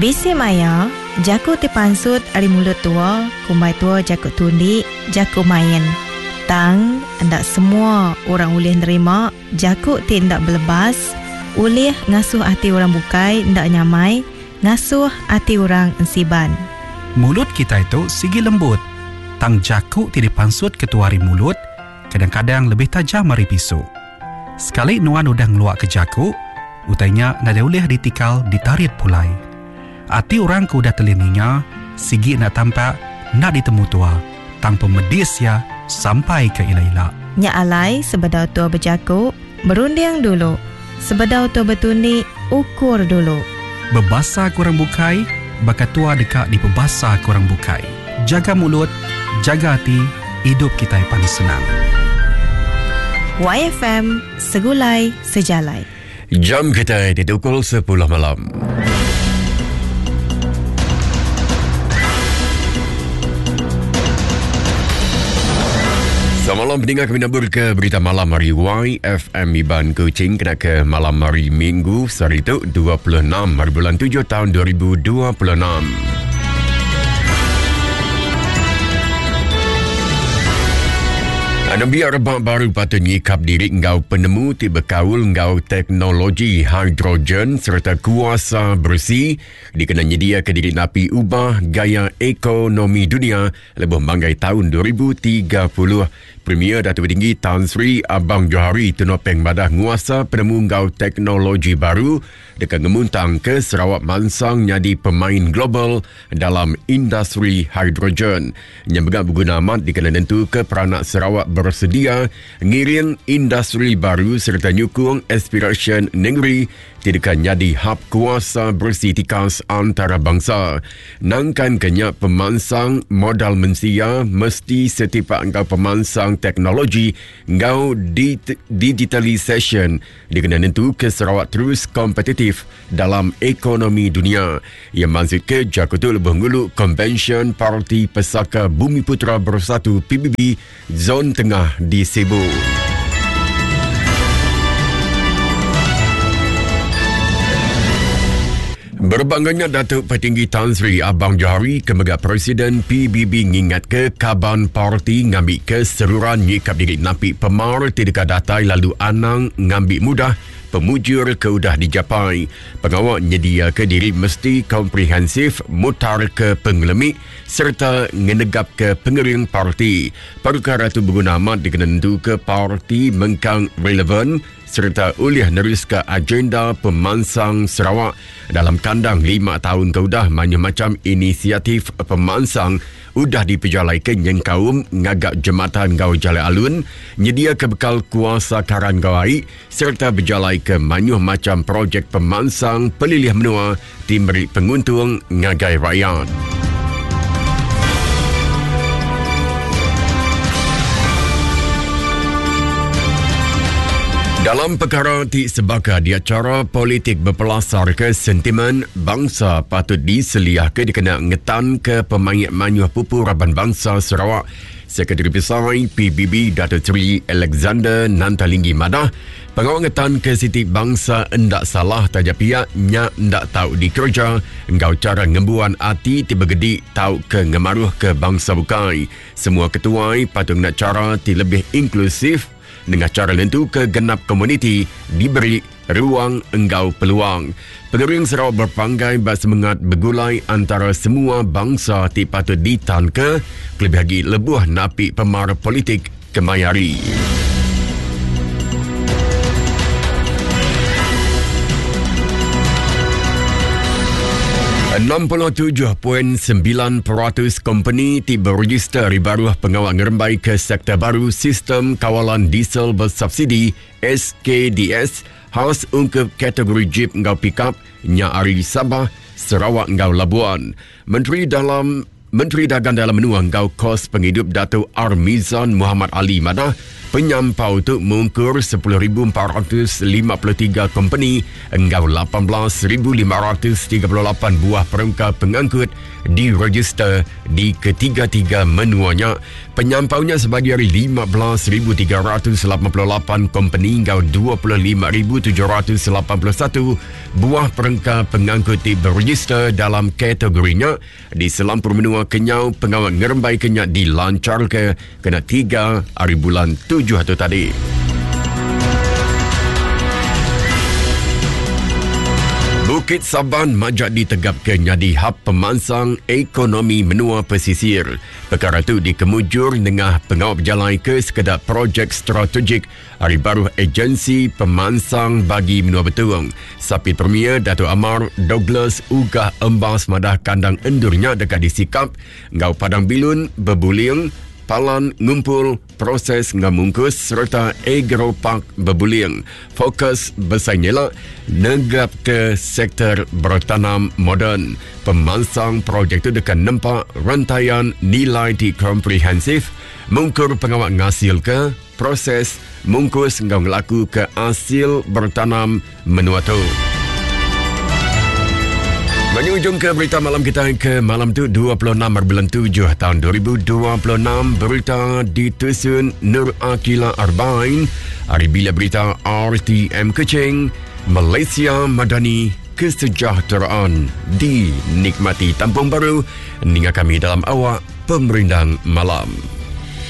Bisi maya, jaku ti pansut ari mulut tua kumbai tua jaku tundi, jaku main. Tang, enda semua orang ulih nerima jaku ti enda belebas, ulih ngasuh ati orang bukai enda nyamai, ngasuh ati orang ensiban. Mulut kitai tu sigi lembut, tang jaku ti dipansutka tua ari mulut kadang-kadang lebih tajam ari pisu. Sekali nuan udah ngeluaka jaku, utai nya nadai ulih ditikal ditarit pulai. Ati orang ke udah telih ninga, sigi enda tampak, enda ditemu tua, tang pemedis iya sampai ke ila-ila. Nya alai sebedau tua bejaku, berunding dulu. Sebedau tua betundi, ukur dulu. Bebasa ke orang bukai, baka tua deka dipebasa ke orang bukai. Jaga mulut, jaga ati, idup kitai pan senang. YFM, Segulai Sejalai. Jam kitai ditukul sepuluh malam. Semalam peninga kami nabur ke berita malam hari YFM Iban Kuching kena ke malam hari Minggu sehari tu 26 hari bulan 7 tahun 2026. Nembiak rebak baru patut nyikap diri enggau penemu ti bekaul enggau teknologi hidrogen sereta kuasa beresi dikena nyediaka diri napi ubah gaya ekonomi dunia lebuh manggai taun 2030. Premier Datuk Patinggi Tan Sri Abang Johari Tun Openg madah nguasa penemu enggau teknologi baru deka ngemuntangka Sarawak mansang nyadi pemain global dalam industri hidrogen. Nya mega beguna amat dikena nentuka peranak Sarawak beresedia ngiring industri baru sereta nyukung aspirasyen nengeri ti deka nyadi hab kuasa beresi tikas antarabangsa. Nangkanka nya, pemansang modal mensia mesti setipak enggau pemansang teknologi enggau digitalisasyen dikena nentuka Sarawak terus kompetitif dalam ekonomi dunya. Iya mansutka jaku tu lebuh ngulu Konvensyen Parti Pesaka Bumiputera Bersatu, PBB, Zon Tengah di Sibu. Berebak enggau nya, Datuk Patinggi Tan Sri Abang Johari ke mega Presiden PBB ngingatka kaban parti ngambika seruran nyikap diri napi pemar ti deka datai lalu anang ngambi mudah pemujur ke udah dijapai. Pengawa nyediaka diri mesti komprehensif mutarka pengelemi sereta ngenegapka pengering parti. Perkara tu beguna amat dikena nentuka parti mengkang relevan sereta ulih neruska agenda pemansang Sarawak dalam kandang lima taun ke udah. Mayuh macham inisiatif pemansang udah dipejalaika nyengkaum ngaga jematan enggau jalai alun, nyediaka bekal kuasa karan enggau ai sereta bejalaika mayuh macham projek pemansang pelilih menua ti meri penguntung ngagai rayat. Dalam pekara ti sebaka dia chara politik bepelasarka sentimen bangsa patut diseliahka dikena ngetanka pemaik mayuh pupu raban bansa Sarawak. Sekretari Besai PBB Dato Seri Alexander Nantalinggi madah, Pengawa ngetanka siti bansa enda salah taja pia nya enda tau dikereja enggau chara ngembuan ati ti begedi tauka ngemaruhka bansa bukai. Semua ketuai patut ngena chara ti lebih inklusif nengah chara nentuka genap komuniti diberi ruang enggau peluang. Pengering Sarawak bepanggai ba semengat begulai antara semua bansa ti patut ditanka kelebih agi lebuh napi pemar politik kemaya hari. 67.9% kompeni ti berejister ari baruh pengawa ngerembai ke sektor baru Sistem Kawalan Diesel Bersubsidi SKDS khas ungkup kategori jip enggau pikap nya ari Sabah, Sarawak enggau Labuan. Menteri Dalam. Menteri Dagang Dalam Menua enggau Kos Pengidup Datuk Armizan Muhammad Ali madah penyampau tu mungkur 10,453 kompeni enggau 18,538 buah perengka pengangkut diregister di ketiga-tiga menua nya. Penyampau nya sebagi ari 15,388 kompeni enggau 25,781 buah perengka pengangkut ti beregister dalam kategori nya di selampur menua kenyau pengawa ngerembaika nya dilancharka kena 3 hari bulan 7 tu tadi. Bukit Saban majak ditegapka nyadi hub pemansang ekonomi menua pesisir. Pekara tu dikemujur nengah pengawa bejalai ke sekeda projek strategik ari baruh Ejensi Pemansang Bagi Menua Betong. Sapit Premier Datuk Amar Douglas Uggah Embas madah kandang endur nya deka disikap enggau padang bilun bebuling, palan ngumpul, proses enggau mungkus sereta agropark bebuling. Fokus besai nyela negapka sektor bertanam moden. Pemansang projek tu deka nempa rentayan nilai ti komprehensif mungkur pengawa ngasilka, proses, mungkus enggau ngelakuka asil bertanam menua tu. Menyujung ke berita malam kita ke malam tu 26 bulan 7 tahun 2026 berita ditusun Nur Akila Arbain hari bila berita RTM Kuching Malaysia Madani kesejahteraan dinikmati tampung baru ninga kami dalam awak pemerindang malam.